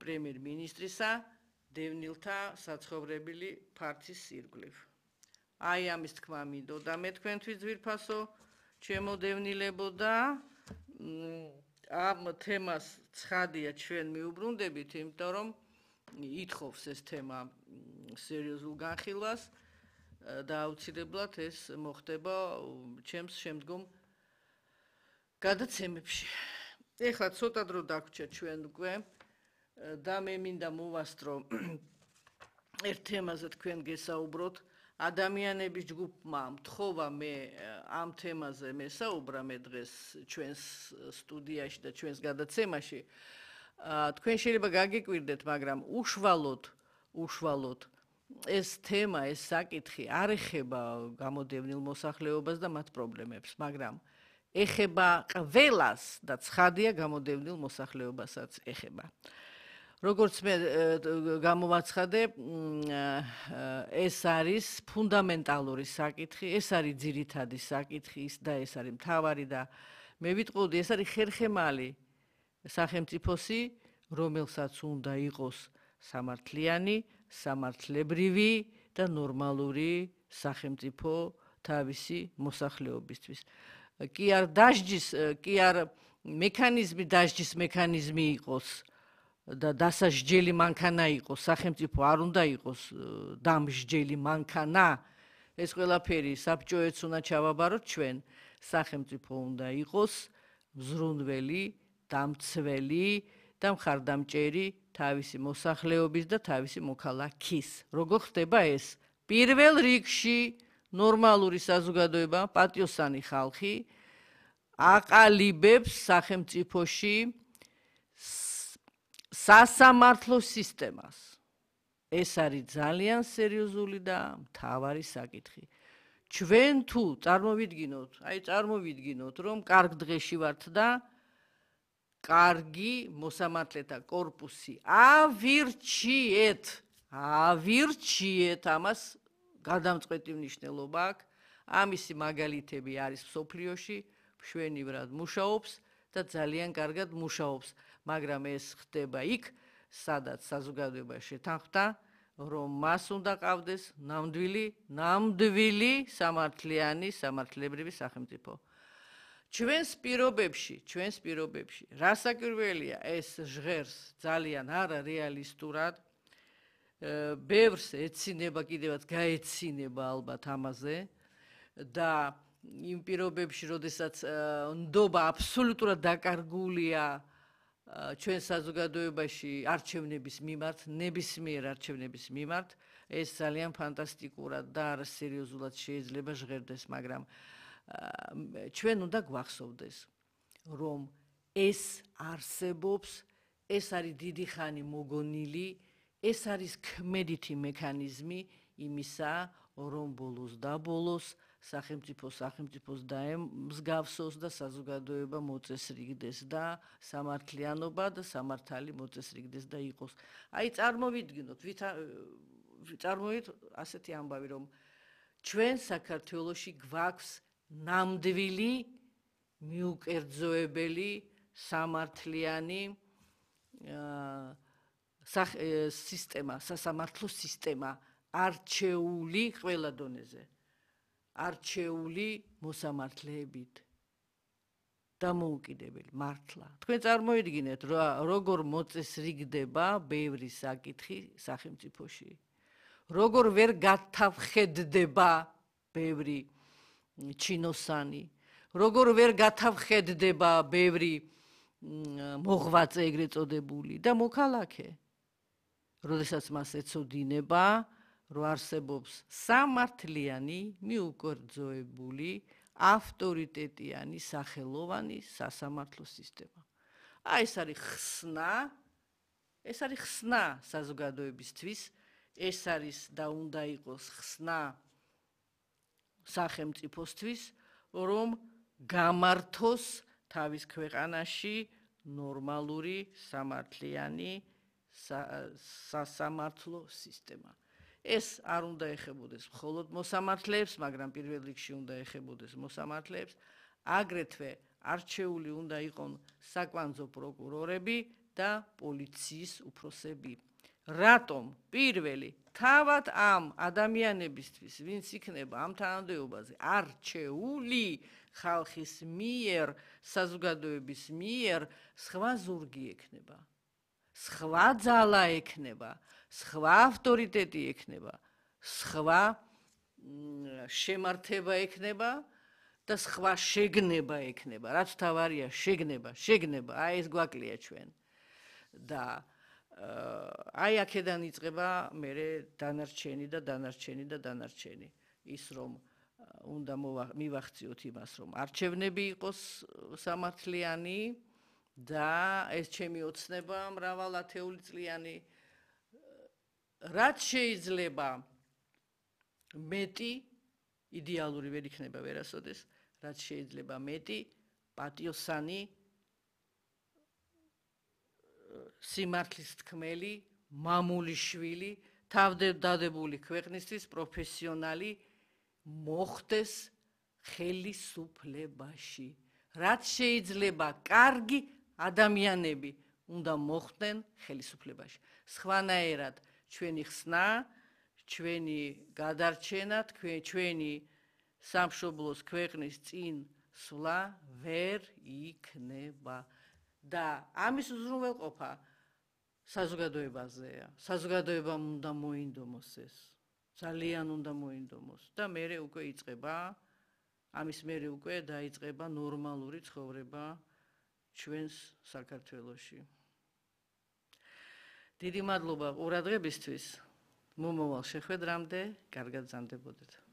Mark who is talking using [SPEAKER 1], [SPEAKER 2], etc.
[SPEAKER 1] პრემიერ-მინისტრისა დევნილთა საცხოვრებელი ფართის ირგვლივ. Აი ამის თქმა მინდოდა მე თქვენთვის ძვირფასო ჩემო დევნილებო და ამ თემას ცხადია ჩვენ მიუბრუნდებით, იმიტომ რომ ითხოვს ეს თემა სერიოზულ განხილვას და აუცილებლად ეს მოხდება ჩემს შემდგომ გადაცემებში. ეხლა ცოტა დრო დაგვრჩა ჩვენ უკვე და მე მინდა მოვასწრო ერთ თემაზე თქვენ გესაუბროთ. ადამიანების ჯგუფმა მთხოვა მე ამ თემაზე მესაუბრა მე დღეს ჩვენს სტუდიაში და ჩვენს გადაცემაში. თქვენ შეიძლება გაგიკვირდეთ, მაგრამ უშუალოდ ეს თემა, ეს საკითხი არ ეხება გამოდევნილ მოსახლეობას და მათ პრობლემებს, მაგრამ ეხება ყველას და ცხადია გამოდევნილ მოსახლეობასაც ეხება. როგორც მე გამოვაცხადე, ეს არის ფუნდამენტალური საკითხი, ეს არის ძირითადი საკითხი და ეს არის მთავარი და მე ვიტყოდი, ეს არის ხერხემალი სახელმწიფოსი, რომელსაც უნდა იყოს სამართლიანი, სამართლებრივი და ნორმალური სახელმწიფო თავისი მოსახლეობისთვის. კი არ მექანიზმი დასჯის მექანიზმი იყოს და დასაჯელი მანქანა იყოს, სახელმწიფო არ უნდა იყოს დამსჯელი მანქანა, ეს ყველაფერი საბჭოეთს უნდა ჩავაბაროთ ჩვენ, სახელმწიფო უნდა იყოს მზრუნველი, დამცველი და მხარდამჭერი თავისი მოსახლეობის და თავისი მოქალაქის. როგორ ხდება ეს? პირველ რიგში ნორმალური საზოგადოება, პატიოსანი ხალხი აყალიბებს სახელმწიფოში სასამართლო სისტემას. ეს არის ძალიან სერიოზული და მთავარი საკითხი. ჩვენ თუ წარმოვიდგინოთ, რომ კარგ დღეში ვართ და კარგი მოსამართლეთა კორპუსი ავირჩიეთ, ამას გადამწყვეტი მნიშვნელობა აქვს. ამისი მაგალითები არის მსოფლიოში, მშვენივრად მუშაობს და ძალიან კარგად მუშაობს. მაგრამ ეს ხდება იქ, სადაც საზოგადოება შეთანხმდა, რომ მას უნდა ყავდეს ნამდვილი სამართლიანი, სამართლებრივი სახელმწიფო. ჩვენს პირობებში, რასაკვირველია, ეს ჟღერს ძალიან არარეალისტურად, ბევრს ეცინება, კიდევაც გაეცინება ალბათ ამაზე და იმ პირობებში, როდესაც ნდობა აბსოლუტურად დაკარგულია ჩვენ საზოგადოებაში არჩევნების მიმართ, ნებისმიერ არჩევნების მიმართ, ეს ძალიან ფანტასტიკურად და არასერიოზულად შეიძლება ჟღერდეს, მაგრამ ჩვენ უნდა გვახსოვდეს, რომ ეს არსებობს, ეს არის დიდი ხანი მოგონილი, ეს არის ქმედითი მექანიზმი იმისა, რომ ბოლოს სახელმწიფოს დაემსგავსოს და საზოგადოება მოწესრიგდეს და სამართლიანობა და სამართალი მოწესრიგდეს და იყოს. აი წარმოვიდგინოთ ასეთი ამბავი, რომ ჩვენ საქართველოში გვაქვს ნამდვილი, მიუკერძოებელი, სამართლიანი სისტემა, სასამართლო სისტემა, არჩეული ყველა დონეზე. არჩეული მოსამართლეებით დამოუკიდებელი მართლა. თქვენ წარმოიდგინეთ, როგორ მოწესრიგდება ბევრი საკითხი სახელმწიფოში. როგორ ვერ გათავხედდება ბევრი ჩინოსანი, როგორ ვერ გათავხედდება ბევრი მოღვაწე ეგრეთ წოდებული და მოქალაქე. როდესაც მას ეცოდინება, რომ არსებობს სამართლიანი, მიუკერძოებული, ავტორიტეტიანი, სახელოვანი სასამართლო სისტემა. ეს არის ხსნა საზოგადოებისთვის, ეს არის და უნდა იყოს ხსნა სახელმწიფოსთვის, რომ გამართოს თავის ქვეყანაში ნორმალური, სამართლიანი სასამართლო სისტემა. ეს არ უნდა ეხებოდეს მხოლოდ მოსამართლეებს, მაგრამ პირველ რიგში უნდა ეხებოდეს მოსამართლეებს, აგრეთვე არჩეული უნდა იყონ საკვანძო პროკურორები და პოლიციის უფროსები. რატომ პირველი თავად ამ ადამიანებისთვის, ვინც იქნება ამ თანამდებობაზე არჩეული ხალხის მიერ, საზოგადოების მიერ, სხვა ზურგი ექნება, სხვა ძალა ექნება, სხვა ავტორიტეტი ექნება, სხვა შემართება ექნება და სხვა შეგნება ექნება. რაც თავარია შეგნება, აი ეს გვაკლია ჩვენ. და აი აქედან იწყება მერე დანარჩენი. ის რომ უნდა მივახციოთ იმას, რომ არჩევნები იყოს სამართლიანი და ეს ჩემი ოცნება მრავალ ათეულიწლიანი, რაც შეიძლება მეტი იდეალური ვერ იქნება ვერასოდეს, რაც შეიძლება მეტი პატიოსანი სიმართლის თქმელი, მამული შვილი, თავდადებული ქვეყნისთვის პროფესიონალი მოხდეს ხელისუფლებაში. რაც შეიძლება კარგი ადამიანები უნდა მოხდნენ ხელისუფლებაში. სხვანაირად ჩვენი ხსნა, ჩვენი გადარჩენა, ჩვენი სამშობლოს ქვეყნის წინ სვლა ვერ იქნება. და ამის უზრუნველყოფა საზოგადოებაზეა. საზოგადოებამ უნდა მოინდომოს ეს. ძალიან უნდა მოინდომოს და მერე უკვე იწყება, ამის მერე უკვე დაიწყება ნორმალური ცხოვრება ჩვენს საქართველოში. დიდი მადლობა ყურადღებისთვის. მომავალ შეხვედრამდე კარგად გრძანდებოდეთ.